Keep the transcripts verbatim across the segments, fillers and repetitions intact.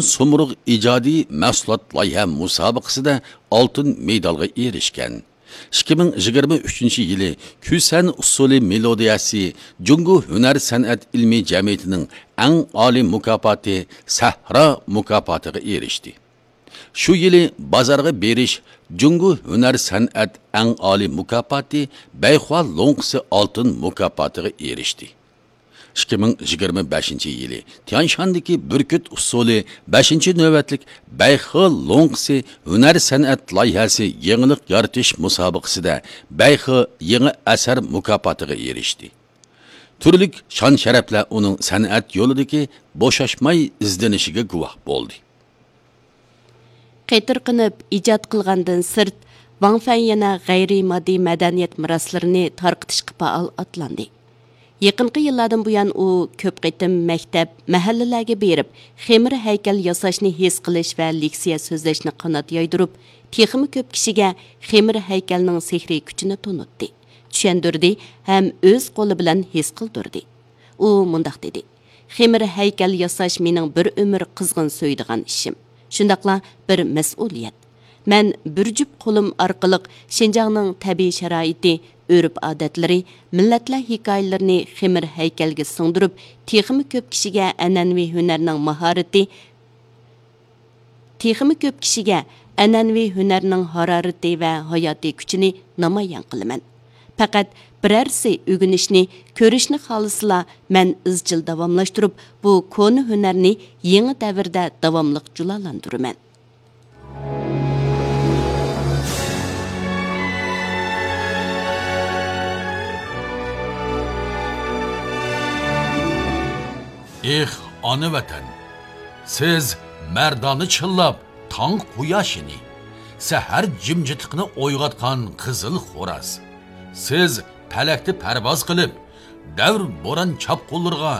سومرۇغ ئىجادىي مەھسۇلات لايىھە مۇسابىقىسىدە ئالتۇن مېدالغا ئېرىشكەن. ئىككى مىڭ يىگىرمە ئۈچىنچى يىلى كۈسەن ئۇسسۇلى مېلودىيەسى جۇڭگو ھۈنەر سەنئەت ئىلمىي جەمئىيىتىنىڭ ئەڭ ئالىي مۇكاپاتى سەھرا مۇكاپاتىغا ئېرىشتى. شۇ يىلى بازارغا بېرىش جۇڭگو ھۈنەر سەنئەت ئەڭ ئالىي مۇكاپاتى بەيخۇا لوڭقىسى ئالتۇن مۇكاپاتىغا ئېرىشتى. ئىككى مىڭ يىگىرمە بەشىنچى يىلى تيانشاندىكى بۈركۈت ئۇسسۇلى بەشىنچى نۆۋەتلىك بەيخې لوڭقىسى ھۈنەر سەنئەت لايىھەسى يېڭىلىق يارىتىش مۇسابىقىسىدە بەيخې يېڭى ئەسەر مۇكاپاتىغا ئېرىشتى. تۈرلۈك شان-شەرەپلەر ئۇنىڭ سەنئەت يولىدىكى بوشاشماي ئىزدىنىشىگە گۇۋاھ بولدى. قېتىرقىنىپ ئىجاد قىلغاندىن سىرت، ۋاڭ فەن يەنە غەيرىي ماددىي مەدەنىيەت مىراسلىرىنى تارقىتىشقا پائال ئاتلاندى. يېقىنقى يىللاردىن بۇيان ئۇ كۆپ قېتىم مەكتەپ، مەھەللىلەرگە بېرىپ، خېمىر ھەيكەل ياساشنى ھېس قىلىش ۋە لېكسىيە سۆزلەشنى قانات يايدۇرۇپ، تېخىمۇ كۆپ كىشىگە خېمىر ھەيكەلنىڭ سېھرىي كۈچىنى تونۇتتى، چۈشەندۈردى ھەم ئۆز قولى بىلەن ھېس قىلدۇردى. ئۇ مۇنداق دېدى: «خېمىر ھەيكەل ياساش مېنىڭ بىر ئۆمۈر قىزغىن سۆيىدىغان ئىشىم، شۇنداقلا بىر مەسئۇلىيەت. مەن بىر جۈپ قولۇم ئارقىلىق شىنجاڭنىڭ تەبىئىي شارائىتى، ئۆرپ-ئادەتلىرى، مىللەتلەر ھېكايىلىرىنى خېمىر ھەيكەلگە سىڭدۈرۈپ، تېخىمۇ كۆپ كىشىگە ئەنئەنىۋى ھۈنەرنىڭ ماھارىتى، تېخىمۇ كۆپ كىشىگە ئەنئەنىۋى ھۈنەرنىڭ ھارارىتى ۋە ھاياتىي كۈچىنى نامايان قىلىمەن. پەقەت بىرەرسى ئۆگىنىشنى، كۆرۈشنى خالىسىلا، مەن ئىزچىل داۋاملاشتۇرۇپ، بۇ كونا ھۈنەرنى يېڭى دەۋردە داۋاملىق جۇلالاندۇرىمەن.» ئېھ، ئانا ۋەتەن! سىز مەردانە چىللاپ تاڭ قۇياشىنى، سەھەر جىمجىتلىقىنى ئويغاتقان قىزىل خوراز. سىز پەلەكتە پەرۋاز قىلىپ، دەۋر بوران چاپقۇنلىرىغا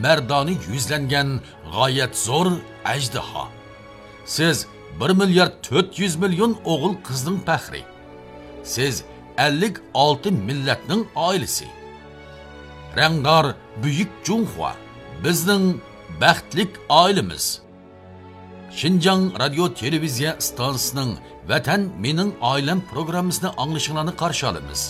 مەردانە يۈزلەنگەن غايەت زور ئەجدىھا. سىز بىر مىليارد تۆت يۈز مىليون ئوغۇل قىزنىڭ پەخرى. سىز ئەللىك ئالتە مىللەتنىڭ ئائىلىسى. رەڭدار بۈيۈك جۇڭخۇا، بىزنىڭ بەختلىك ئائىلىمىز. شىنجاڭ رادىيو تېلېۋىزىيە ئىستانسىسىنىڭ ۋەتەن مېنىڭ ئائىلەم پروگراممىسىنى ئاڭلىشىڭلارنى قارشى ئالىمىز.